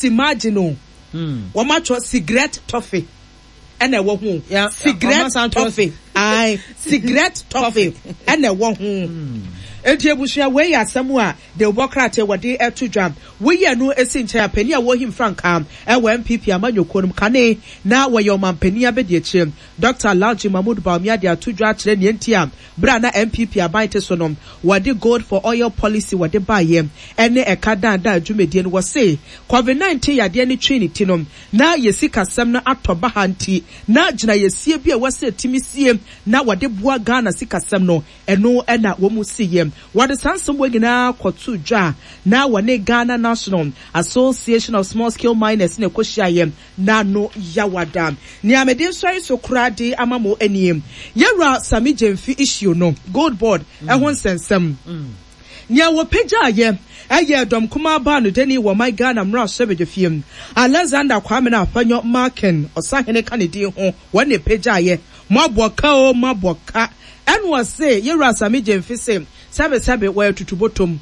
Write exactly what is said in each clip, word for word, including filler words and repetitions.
Imagine o, wɔn atwerɛ cigarette toffee ɛna ɛwɔ ho. Ya- Cigarette ɔma san twerɛ- toffee, ayi, cigarette toffee ɛna ɛwɔ ho. Eti ebusua, wei yɛ asɛm a de wɔ krataa wɔde ɛto dwa. Woyɛ no esi nkyɛn a, panyin a wɔhim frankaa ɛwɔ N P P amanyɔkuo no mu kane na wɔyɛ ɔmanpanyin abɛdi akyire, Doctor Alhaji Mahmood Bawumia, de ato dwa akyerɛ nea nti a bere a na N P P aban te so no, wɔde gold for oil policy wɔde baayɛ ɛne ɛka daadaa dwumadie no. Wɔse COVID nineteen yadeɛ no twi ne ti no na yɛsi kasɛm no atɔ ba ha, nti na gyina yɛsie bi a wɔsɛ timi sie na wɔde boa Ghana sikasɛm no, ɛno ɛna wɔn mu si yɛ. Wɔde saa nsɛm wɔ nyinaa kɔto dwa na wɔne Ghana National Association of Small Scale Miners na ɛkɔhyia yɛ n'ano yawada. Nea mede nsɔre so koraa de ama mo anim, yɛwura Sammy Gyamfi issue no, Gold Board ɛho nsɛnsɛm, nea wɔpagyaayɛ ɛyɛ dɔm kumaa baa no dani wɔ man Ghana mmarahyɛbadwafie, Alexander Kwame no Afenyo Markin, ɔsahene ka ne din ho, wɔn na ɛpagyaayɛ. Moabɔ ka o, moabɔ ka. Ɛna ɔse yɛwura Sammy Gyamfi se sɛbesɛbe wɔyɛ tutubotom,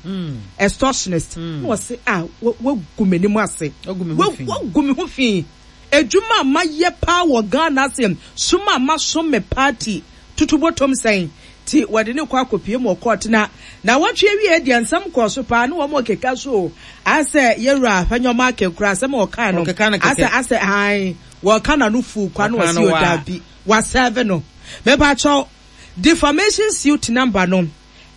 extortionist, na ɔse a wagu m'anim ase. Wagu me ho fi. Wagu me ho fi. Edwuma a mayɛ paa wɔ Ghana ase, soma a masom me party, tutubotom sɛn ti wɔde ne kɔ akɔpie mu wɔ court na na wɔtwe awie deɛ, nsɛm kɔɔ so paa ne wɔn keka so o, asɛ yɛwura Afenyo Markin kora, asɛm a ɔkaa no Ɔkeka no kɛkɛ. asɛ asɛ han wɔka n'ano fu kwa no. Ɔka Wɔsi no waa. Ɔdabi, wasɛve no. Mɛpakyɛw, defamation suit number no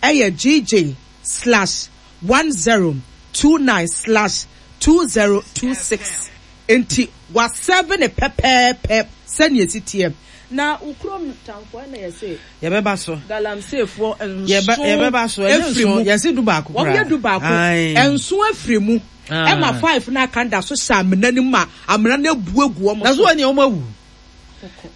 ɛyɛ G J slash one zero two nine slash two zero two six, nti wasɛve ne pɛpɛɛpɛ sɛnea esi teɛ na okurom tamfoɔ ɛna yɛsɛ Yɛbɛba so. Galamseyfoɔ Yɛbɛ nson yɛbɛba so. Ɛnyɛ efiri nson, mu. yɛsi du baako Wɔn koraa. yɛ du baako. Aye. Nson afiri mu. Ah. Ɛma five na aka da so hyɛ amena no mu a amena no ebu egu wɔn Na so so. wɔ nea wɔn awu.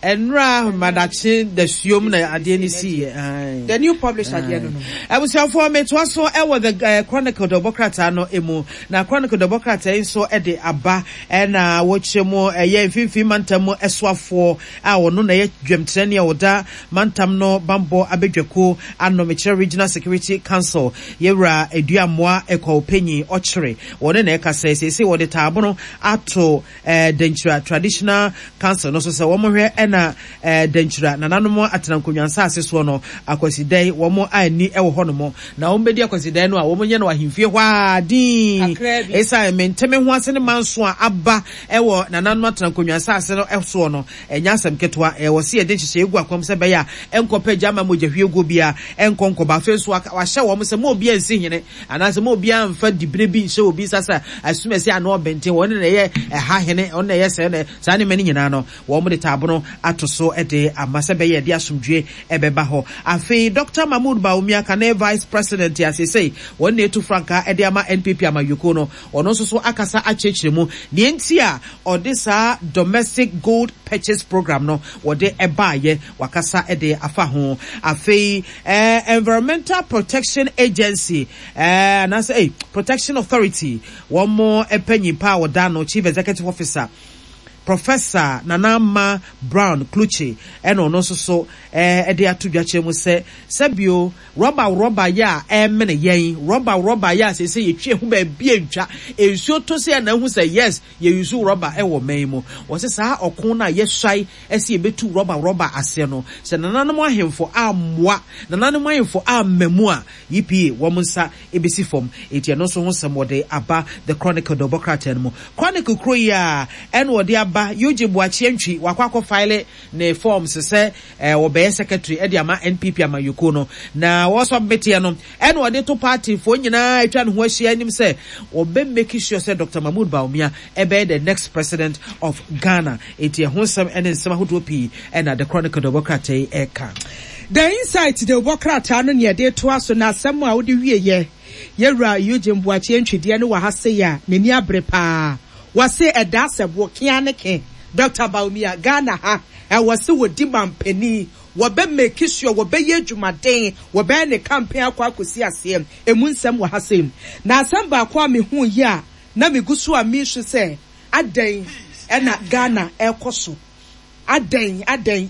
Ɛnura madakye dasuom na adeɛ no si yɛ. Aye. The New Publisher deɛ no no. Abusuafoɔ, metoa so ɛwɔ The uh, Chronicle dɔbɔ krataa no emu, na Chronicle dɔbɔ krataa yi nso ɛde aba, ɛna wɔkyerɛ mu ɛyɛ Mfimfini Mantam mu ɛsoafoɔ a ɔno na ɛyɛ dwamtirani a ɔda mantam no bambɔ abadwakuo ano, mekyerɛ Regional Security Council, yɛwura Aduamoa Ɛkɔw Panyin ɔkyerɛ wɔne na ɛka sɛ seesei wɔde taabono ato ɛɛ Dankyira Traditional Council no so sɛ wɔn hwɛ ɛna ɛɛ Dankyira nananom atena nkonnwa nsaase soɔ no, akwasidan wɔn ani ɛwɔ hɔnom na wɔn bɛdi akwasidan no a wɔn nyɛ no ahemfie hɔ a din. Kakraa bi. Esan menteme ho ase ne manso a aba ɛwɔ nananom atena nkonnwa nsaase no ɛsoɔ no, ɛnyɛ asɛm ketewa. Ɛwɔ si yɛde nhyehyɛ egu akwam sɛ bɛyɛ a ɛnkɔpɛ gya ama mogya hwie guo bia ɛnkɔ nkɔba. Afei nso waka- wahyɛ wɔn sɛ mo obiara nsi hene anaasɛ mo obiara nfa dibere bi nhyɛ obi nsa sɛ asumasi ano ɔbɛnten wɔn na ɛyɛ ɛha hene, wɔn na ɛyɛ sɛ na saa nneɛma no nyinaa no, wɔn de taabono ato so de ama sɛ bɛyɛ ɛde asomdwe ɛbɛba hɔ. Afei Doctor Mahmood Bawumia, kane vice president a seesei wɔn na etu frankaa ɛde ama N P P amayɔkuo no, ɔno nso so akasa akyerɛkyerɛ mu deɛ nti a ɔde saa domestic gold purchase program no wɔde ɛbaayɛ. Wakasa ɛde afa ho. Afei ɛɛ Environmental Protection Agency ɛɛ anaasɛ ɛy Protection Authority, wɔn mo mpanyin pa a wɔda no, Chief Executive Officer Professor Nana Ama Brown Kluche, ɛna ɔno nso so ɛɛ ɛde ato dwa kyerɛ mu sɛ sɛbio rɔba rɔba yɛ a ɛmene yɛn, rɔba rɔba yɛ a sɛsɛ yɛtwi ɛho baabi antwa nsuo to sɛ ɛna ehu sɛ yes, yɛyusu rɔba ɛwɔ man mu. Wɔsɛ saa ɔko no a yɛsuae ɛsɛ yɛbɛtu rɔba rɔba aseɛ no, sɛ nananom ahemfo ammoa, nananom ahemfo amma mu a, E P A wɔn nsa ebesi fam. Eti ɛno nso ho nsɛm wɔde aba The Chronicle dɔbɔ krataa no mu. Chronicle kuro yi a ɛna wɔde aba, Eugene Boakye Antwi wakɔ akɔ file ne forms sɛ ɛɛ wɔbɛyɛ secretary ɛde ama N P P amayɔkuo no, na wɔsɔ no ɛna wɔde to party foɔ nyinaa atwa ne ho ahyia anim sɛ wɔbɛ make sure sɛ Doctor Mahmood Bawumia ɛbɛyɛ the next president of Ghana. Eti ɛho nsɛm ɛne nsɛm ahodoɔ pii ɛna The Chronicle dɔbɔ krataa yi ɛka. The Insight de wobɔ krataa no nea ɛde toa so, na asɛm a wode wie yɛ yɛwura Eugene Boakye Ntwideɛ no wɔ ha sei a n'ani abere paa. Wɔse ɛda sɛ wɔkea ne ke Doctor Bawumia, Ghana ha ɛwɔ sɛ wɔdi mampanin, wɔbɛ make sure wɔbɛyɛ adwumaden, wɔbɛyɛ ne campaign akɔ akɔsi aseɛ. Emu nsɛm wɔ ha sei. Na asɛm baako a mehu yi a na megu so a mesu sɛ adɛn ɛna Ghana ɛkɔ so, adɛn adɛn,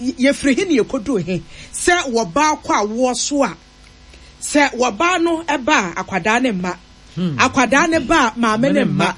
yɛfiri he ne yɛkɔduu he sɛ wɔbaa kɔ awoɔ so a, sɛ wɔbaa no ɛba a, akwadaa ne mma, akwadaa ne ba a, maame ne mma.